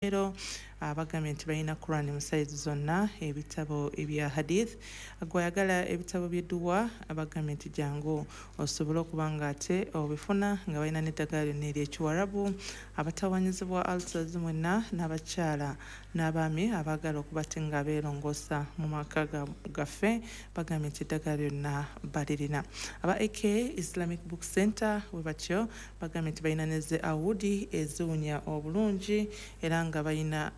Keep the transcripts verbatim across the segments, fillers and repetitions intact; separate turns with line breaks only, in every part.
Ero abagambye nti balina Quran mu sayizi zonna, ebitabo ebya hadith, gwayagala ebitabo by'edduwa, abagambye nti jangu osobole okuba nga ate obifuna, nga balina n'eddagala lyonna ery'ekiwarabu. Abatawanyizibwa ulcers mwenna, n'abakyala n'abaami abaagala okuba ate nga beerongoosa mu maka gaffe, bagambye nti eddagala lyonna balirina. Aba A K Islamic Book Center bwe batyo bagambye nti balina ne ze awudi eziwunya obulungi, era nga balina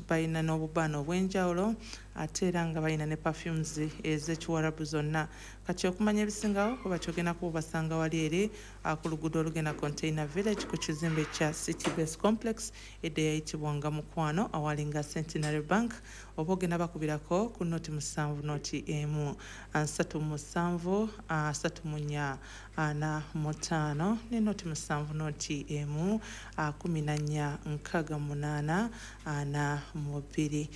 balina n'obubaana obw'enjawulo, ate era nga balina ne perfumes ez'ekiwarabu zonna. Kati okumanya ebisingawo oba kyogenda kuba basanga wali eri ku luguudo olugenda Container Village, ku kizimbe kya City Base Complex, edda eyayitibwanga Mukwano, awalinga Centenary Bank, oba ogenda bakubirako ku noti musanvu noti emu asatu musanvu asatu mu nnya ana mu ttaano, ne noti musanvu noti emu kumi na nnya nkaaga munaana ana mu bbiri.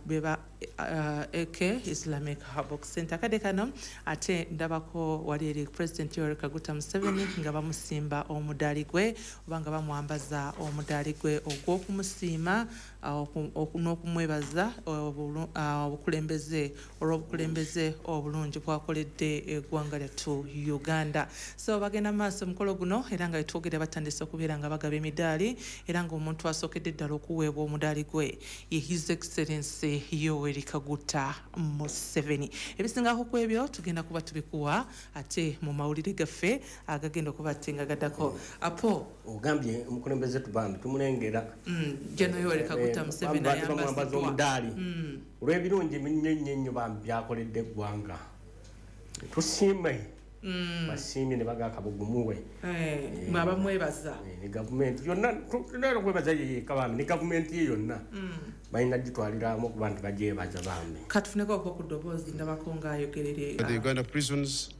Beba A K Islamic Book Center. Akadde kano ate ndabako wali eri President Yoweri Kaguta Museveni nga bamusimba omudaali gwe, oba nga bamwambaza omudaali gwe ogw'okumusiima n'okumwebaza obukulembeze, olw'obukulembeze obulungi bwakoledde eggwanga lyattu Uganda. So bagenda maaso omukolo guno, era nga wetwogera batandise okubeera nga bagaba emidaali, era ng'omuntu asookedde ddala okuweebwa omudaali gwe ye His Excellency Yoweri Kaguta Museveni. Ebisingako ku ebyo tugenda kuba tubikuwa ate mu mawulire gaffe agagenda okuba ate nga gaddako. Apo
ogambye omukulembeze tubambi tumulengera.
Gen Yoweri Kaguta Museveni.
Bamwambaza omudaali olw'ebirungi nnyo nnyo nnyo bambi byakoledde eggwanga. Tusiime, basiimye ne baga akabugumuwe.
Mwabamwebaza.
Ne gavumenti yonna leero kwebaza yeyeka bambi, ne gavumenti ye yonna balina gitwaliramu okuba nti bagyebaza bambi.
Katufuneko okwo ku ddoboozi, ndabako ng'ayogerere.
The Uganda prisons,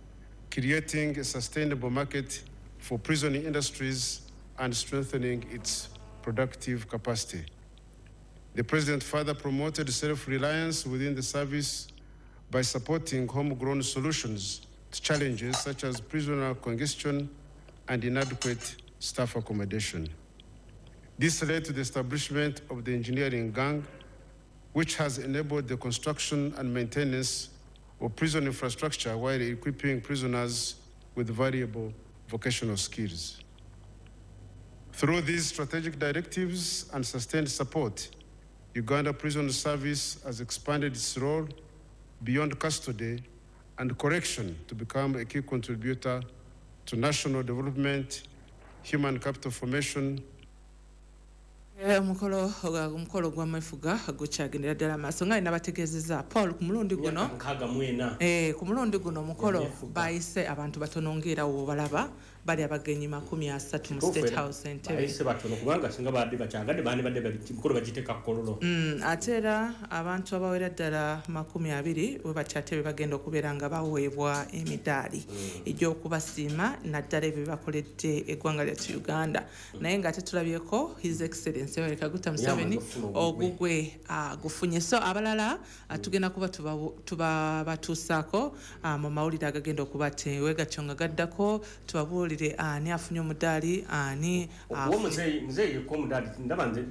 creating a sustainable market for prison industries and strengthening its productive capacity. The President further promoted self-reliance within the service by supporting homegrown solutions to challenges such as prisoner congestion and inadequate staff accommodation. This led to the establishment of the engineering gang, which has enabled the construction and maintenance of prison infrastructure while equipping prisoners with valuable vocational skills. Through these strategic directives and sustained support, Uganda Prison Service has expanded its role beyond custody and correction to become a key contributor to national development, human capital formation,
Omukolo omukolo gw'amefuga gukyagendera ddala maaso, nga nabategeezezza, Paul, ku mulundi guno
nkaaga mu ena.
Eh, ku mulundi guno omukolo
Yamefuga.
bayise abantu batono, ng'era wobalaba bali abagenyi makumi asatu mu State House Entebe.
Bayise batono, kubanga singa badde bakyagadde bandibadde mikolo bagiteeka Kololo.
Mm, ate era abantu abawera ddala makumi abiri we bakyate be bagenda okubeera nga baweebwa emidaali egy'okubasiima, naddala ebyo byebakoledde eggwanga lyattu Uganda. Naye nga tetulabyeko His Excellency Yoweri Kaguta Museveni.
Yamaze okufuna ogugwe.
Ogugwe agufunye, so abalala ah, tugenda kuba tubabu- tubabatuusaako ah, mu mawulire agagenda okuba tewegatyo nga gaddako, tubabuulire ani afunye omudaali, ani
Okuwa
afunye-
muzeeyi muzeeyi yekka omudaali, ndaba nze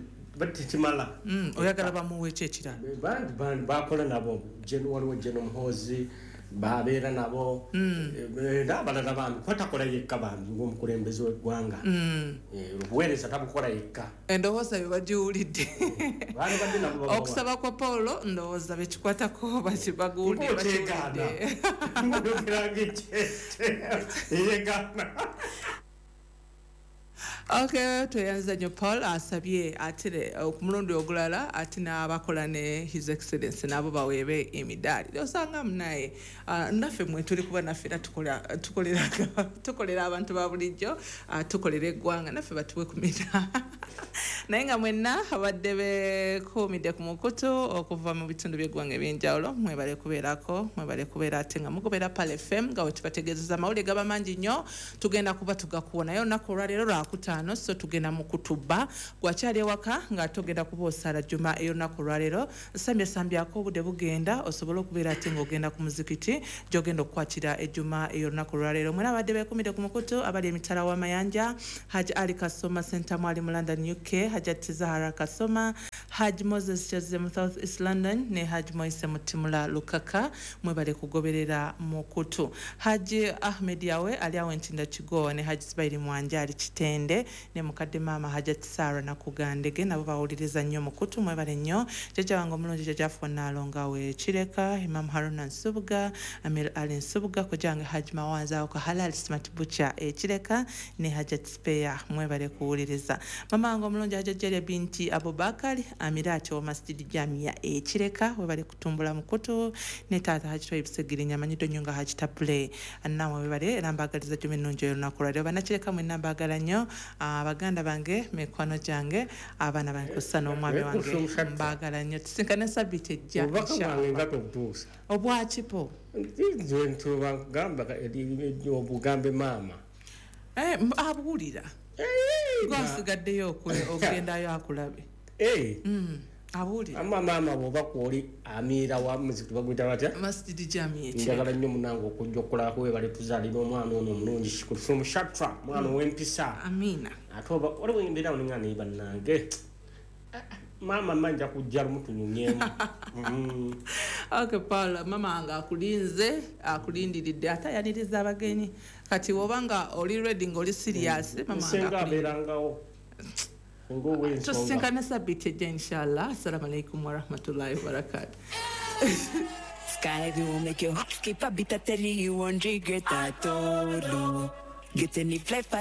tekimala.
Mm, oyagala bamuwe ki ekirala?
Bangi bangi bakola nabo. Gen- waliwo Gen Muhoozi babeera nabo. Eh, n'abalala bambi, kuba takola yekka bambi ng'omukulembeze w'eggwanga. Eh, obuweereza tabukola yekka.
Endowooza bye bagiwulidde.
Baali badde nabo babawa.
Okusaba kwa Paul, ndowooza bekikwatako baki- baguwulidde.
Ng'okyegaana.
Bakiwulidde.
Ng'oyogera ng'ekyekye yeegaana.
Okay, tweyanza nnyo Paul. Asabye ate ku mulundi ogulala ate n'abakola ne His Excellence nabo baweebe emidaali. Osanga munaye ah, naffe mwe tuli, kuba naffe era tukola- tukolera tukolera abantu ba bulijjo, ah, tukolera eggwanga, naffe batuwe ku midaali. Naye nga mwenna abadde bekuumidde ku mukutu okuva mu bitundu by'eggwanga ebyenjawulo, mwebale kubeerako, mwebale kubeera ate nga mugobera Pearl F M, nga we tubategeezeza amawulire gaba mangi nnyo, tugenda kuba tugakuwa. Naye olunaku olwaleero lwakutaano. ttaano, so tugenda mu kutuba. Gwakyali ewaka ng'ate ogenda kuba osaala juma ey'olunaku olwaleero, sambyasambyako obudde bugenda, osobole okubeera ate ng'ogenda ku muzikiti gy'ogenda okukwatira ejjuma ey'olunaku olwaleero. Mwena abadde beekumidde ku mukutu, abali emitala w'amayanja, Haji Ali Kasoma Sentamu ali mu London U K, Hajat Zahara Kasoma, Haji Moses Kyazze mu South East London ne Haji Moise Mutimula Lukaka, mwebale kugoberera mukutu. Haji Ahmed Yawe ali awo Entinda Kigo ne Haji Sibairi Mwanja ali Kitende ne mukadde maama Hajat Sara Nakugandege, nabo bawuliriza nnyo mukutu, mwebale nnyo. Jjajja wange omulungi Jjajja Naalonga we Kireka, Imam Haruna Nsubuga, Amir Ali Nsubuga, kojjange Haji Mawanza awo ka Halal Smart Butcher e Kireka ne Hajat Speya, mwebale kuwuliriza. Mama wange omulungi Hajat Jalia binti Abubakari Amirati wa Masjidi Jamia e Kireka, webale kutumbula mukutu, ne taata Haji Twaib Segirinya amanyiddwa nnyo nga Haji Tabule, nammwe webale era mbaagaliza jjuma ennungi ey'olunaku lwaleero. Bannakireka mwenna mbaagala nnyo, baganda bange, mikwano gyange, abaana bange kussa n'omwami wange, mbaagala nnyo. Tusinkane sabbiiti ejja.
Obubaka bwange nga tobutuusa.
Obwakipo?
Nze ntubagamba obugambe maama.
Eh, abuwulira, gwasigaddeyo okugendayo akulabe. Mm, abuwulira.
Ama maama bw'oba kwoli amiira wa muzikiti baguyita batya?
Masjidi Jamia.
Njagala nnyo munange okujja okulabako, webale tuzaalira omwana ono omulungi Kulusumu Shatra, mwana ow'empisa.
Amiina.
Ate oba waliwo embeera awo ninga naye bannange maama mma nja kujja lumu tunyumyemu. Mm.
Okay, Paul, mama wange akulinze, akulindiridde, ate ayaniriza abagenyi. Kati woba nga oli ready, ng'oli serious, mama wange
Nsenga
akulinze.
Abeerangawo senga ow'ensonga.
Tusinkane sabbiiti ejja inshallah. Assalamu alaikum warahmatullahi wabarakatuh.
Sky will make your heart skip a beat. I tell you, you won't regret at all. Get any fly fire.